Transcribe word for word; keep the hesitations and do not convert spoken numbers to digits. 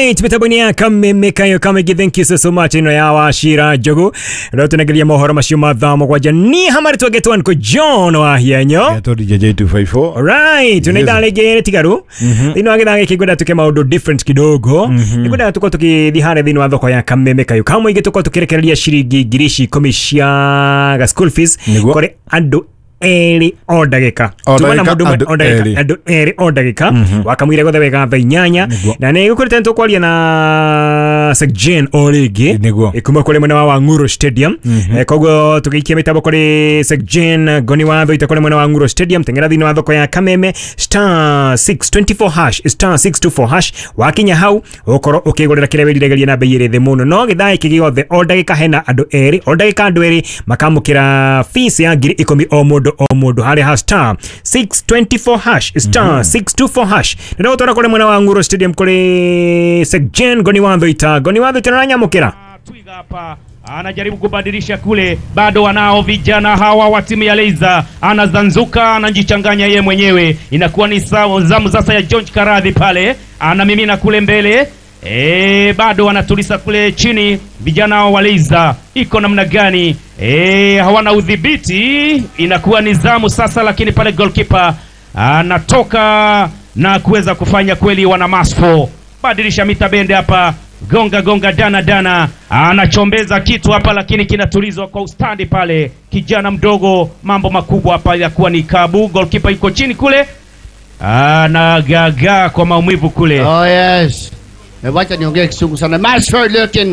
Alright, mitambo-inĩ ya Kameme Kayo Kamegi, thank you so, so much. Ĩno ya Wachira Njogu rĩu tũnengeria mohoro macio ma thaa mũgwanja. Niĩ hamarĩ twangetwo nĩkũ John Wahianyo. Getwo D J two five four. Alright, tuna ithaa rĩngĩ rĩtigaru thĩinĩ wa gĩthaa gĩkĩ. Ngwenda tuke maũndũ different kidogo. Nĩngwendaga tũkorwo tũkĩthiĩ harĩa thĩinĩ wa thoko ya Kameme Kayo Kamũingĩ, tũkorwo tũkĩrekereria ciringi ngiri ici ikũmi cia ga school fees Nĩguo. kũrĩ andũ erĩ o ndagĩka. O Tuma na ndagĩka, mũndũ ũmwe andũ o ndagĩka, erĩ. Andũ erĩ o ndagĩka wakamwire gothe wega thaa inyanya. Nĩguo. Na nĩ gũkũrĩte nĩtũkwaria na Sekjen o rĩngĩ Nĩguo. kuma kũrĩ mwena wa Wang'uro Stadium. Eh, koguo tũgĩikia mĩtambo kũrĩ Sekjen Ngoni wa Thoita kũrĩ mwena wa Ng'uro Stadium. Teng'era thĩinĩ wa thoko ya Kameme, star six two four hash, star six two four hash. Wakinya hau ũkorwo ũkĩgũrĩra kĩrĩa wĩriragĩria na bei ĩrĩ thĩ mũno. No gĩthaa gĩkĩ gĩothe o ndagĩka hena andũ erĩ, o ndagĩka andũ erĩ makamũkĩra fees ya ngiri ikũmi o mũndũ o mũndũ harĩa ha star six two four hash, star six two four hash. Nĩ gũtwara kũrĩ mwena wa Ng'uro Stadium kũrĩ Sekjen Ngoni wa Thoita. Ngoni wa Thoita, nĩũranyamũkĩra? Twiga hapa anajaribu kubadilisha kule, bado wanao vijana hawa wa timu ya Leiza, anazanzuka, anajichanganya ye mwenyewe, inakuwa ni sawa zamu sasa ya George Karadhi pale, anamimina kule mbele. E, bado wanatulisa kule chini vijana hao wa Leiza, iko namna gani? E, hawana udhibiti, inakuwa ni zamu sasa, lakini pale goalkeeper anatoka na kuweza kufanya kweli, wana Masfo badilisha mita bende hapa, gonga gonga, dana dana, anachombeza kitu hapa, lakini kinatulizwa kwa ustandi pale. Kijana mdogo, mambo makubwa hapa, yakuwa ni Kabu, goalkeeper yuko chini kule, anagagaa kwa maumivu kule. Oh yes. Eh, wacha niongee Kisungu sana. Masford looking